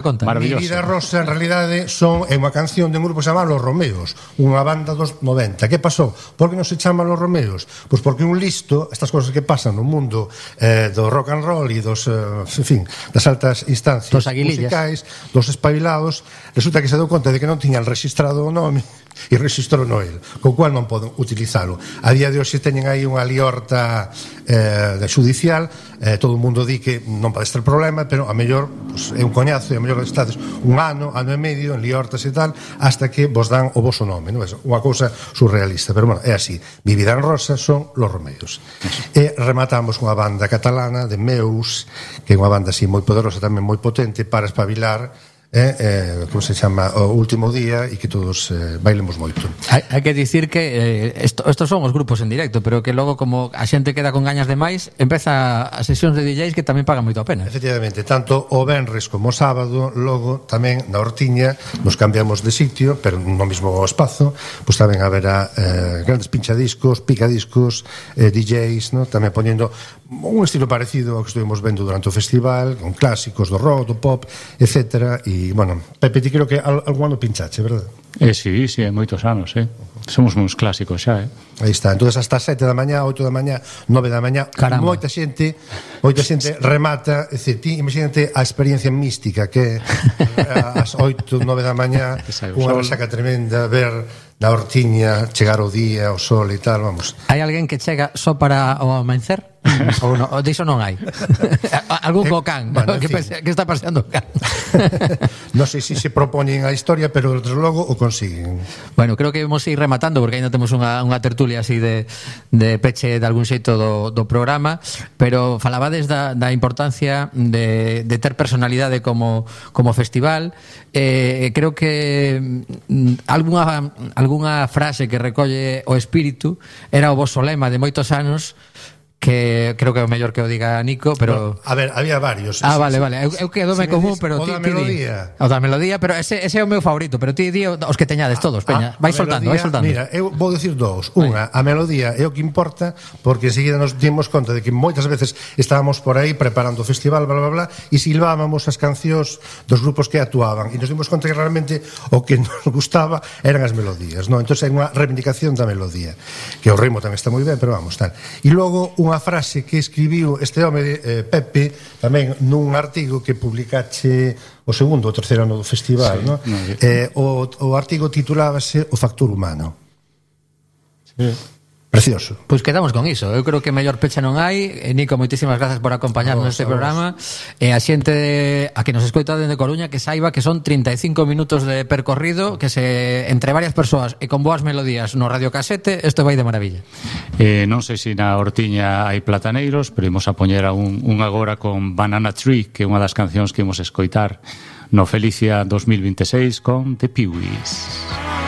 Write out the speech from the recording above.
Conta. Mi vida rosa, en realidade, é unha canción de un grupo chamado Los Romeos, unha banda dos 90. Que pasou? Por que non se chaman Los Romeos? Pois porque un listo, estas cosas que pasan no mundo do rock and roll e dos, en fin, das altas instancias musicais, dos espabilados, resulta que se deu conta de que non tiñan registrado o nome e registrou no el, co cual non poden utilizalo. A día de hoxe teñen aí unha liorta judicial, todo o mundo di que non pode estar problema, pero a mellor pues, é un coñazo, e a mellor estades un ano e medio en liortas e tal, hasta que vos dan o voso nome, non? É unha cousa surrealista, pero bueno, é así. Mi vida en rosa son Los Romeos. E rematamos unha banda catalana de Meus, que é unha banda así moi poderosa, tamén moi potente para espabilar, como se chama, o último día, e que todos bailemos moito. Hai que dicir que estos son os grupos en directo, pero que logo como a xente queda con gañas de máis, empeza as sesións de DJs que tamén pagan moito a pena. Efectivamente, tanto o venres como o sábado, logo tamén na Hortiña nos cambiamos de sitio, pero no mismo espazo, pois tamén haberá grandes pinchadiscos, picadiscos, DJs, ¿no? Tamén poñendo un estilo parecido ao que estuvimos vendo durante o festival, con clásicos do rock, do pop, etcétera. E, bueno, Pepe, ti creo que algún ano pinchache, verdad? Sí, hai moitos anos, somos uns clásicos xa, Aí está, entonces hasta 7 da mañá, 8 da mañá, 9 da mañá, moita xente remata, é dicir, ti imagínate a experiencia mística que ás 8, 9 da mañá, unha resaca tremenda, ver na Hortiña chegar o día, o sol e tal, vamos. Hai alguén que chega só para o amanhecer? Ou non, diso non hai. Algún co can, bueno, que está paseando o can. Non sei se propoñen a historia, pero desde logo o consiguen. Bueno, creo que vamos a ir rematando, porque ainda temos unha tertulia así de peche de algún xeito do programa, pero falabades da importancia de ter personalidade como festival. Creo que algunha frase que recolle o espírito era o voso lema de moitos anos, que creo que é o mellor que o diga Nico, pero... A ver, había varios. Vale. Eu quedome común, pero ti... O da melodía, pero ese é o meu favorito, pero ti di os que teñades todos, Peña. Vai soltando. Mira, eu vou dicir dous. Unha, a melodía é o que importa, porque enseguida nos dimos conta de que moitas veces estábamos por aí preparando o festival, bla, bla, bla, e silvábamos as cancións dos grupos que actuaban, e nos dimos conta que realmente o que nos gustaba eran as melodías, non? Entón é unha reivindicación da melodía, que o ritmo tamén está moi ben, pero vamos, tal. E logo, unha frase que escribiu este home Pepe tamén nun artigo que publicache o segundo ou terceiro ano do festival, sí, o artigo titulábase O factor humano. Sí. Precioso. Pois quedamos con iso. Eu creo que mellor pecha non hai. Nico, moitísimas grazas por acompañarnos neste programa. E a xente a que nos escoita dende Coruña que saiba que son 35 minutos de percorrido, que se entre varias persoas e con boas melodías no radiocasete, isto vai de maravilla. Non sei se na Hortiña hai plataneiros, pero imos a poñer un agora con Banana Tree, que é unha das cancións que imos escoitar no Felicia 2026 con The Peewees.